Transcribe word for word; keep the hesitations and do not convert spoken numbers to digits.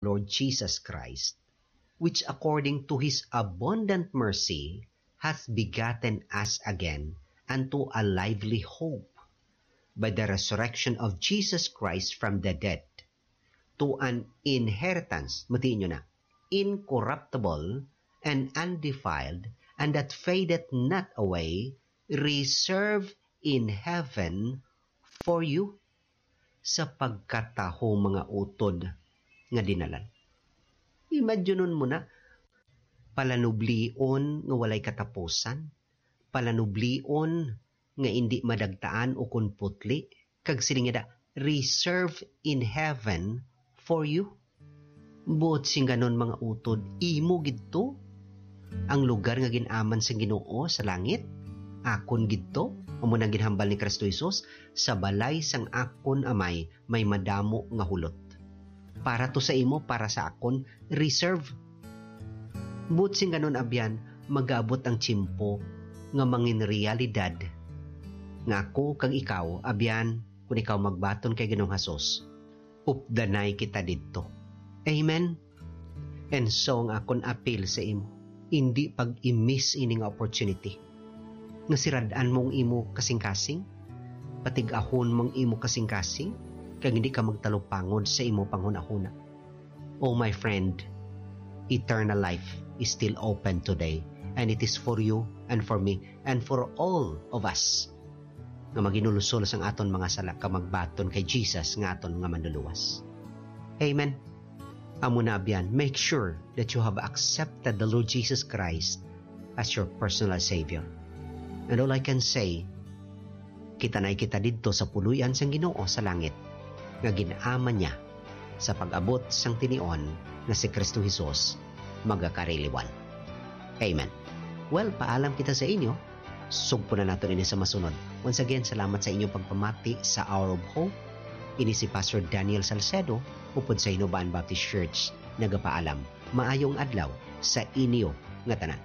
Lord Jesus Christ, which according to his abundant mercy hath begotten us again unto a lively hope by the resurrection of Jesus Christ from the dead, to an inheritance, matiin nyo na, incorruptible and undefiled, and that fadeth not away, reserved in heaven for you, sa pagkataho mga utod nga dinalan. Imaginon mo na, palanublion nga walay katapusan, palanublion nga indi madagtaan ukon putli, kag siling niya, "Reserve in heaven for you." Buot sing ganon, mga utod, imo gid to. Ang lugar nga gin-aman sang Ginoo sa langit, akon gid to. Amo nang ginhambal ni Cristo Jesus, "Sa balay sang akon Amay may madamo nga hulot." Para to sa imo, para sa akon, reserve. Buot sing ganon, abyan, magaabot ang tiyempo nga mangin realidad nga ako kag ikaw, abyan, kun ikaw magbaton kay Ginoong Hesus, updanay kita didto. Amen? And so, ang akon apil sa imo, indi pag-i-miss ini nga opportunity. Nga sirad-an mo ang imo kasingkasing, patig-ahon mo ang imo kasingkasing, kag hindi ka magtalupangod sa imo panghunahuna. Oh, my friend, eternal life is still open today, and it is for you and for me and for all of us nga maginulusol sang aton mga sala kag magbaton kay Jesus nga aton nga Manluluwas. Amen. Amo na, abyan, make sure that you have accepted the Lord Jesus Christ as your personal Savior. And all I can say, kita na kita didto sa puloy-an sang Ginoo sa langit, nga gin-aman niya sa pag-abot sang tinion nga si Cristo Jesus magakariliwan. Amen. Well, paalam kita sa inyo. Sugpo na naton ini sa masunod. Once again, salamat sa inyong pagpamati sa Hour of Hope. Ini si Pastor Daniel Salcedo, upod sa Hinubaan Baptist Church, nagapaalam. Maayong adlaw sa inyo nga tanan.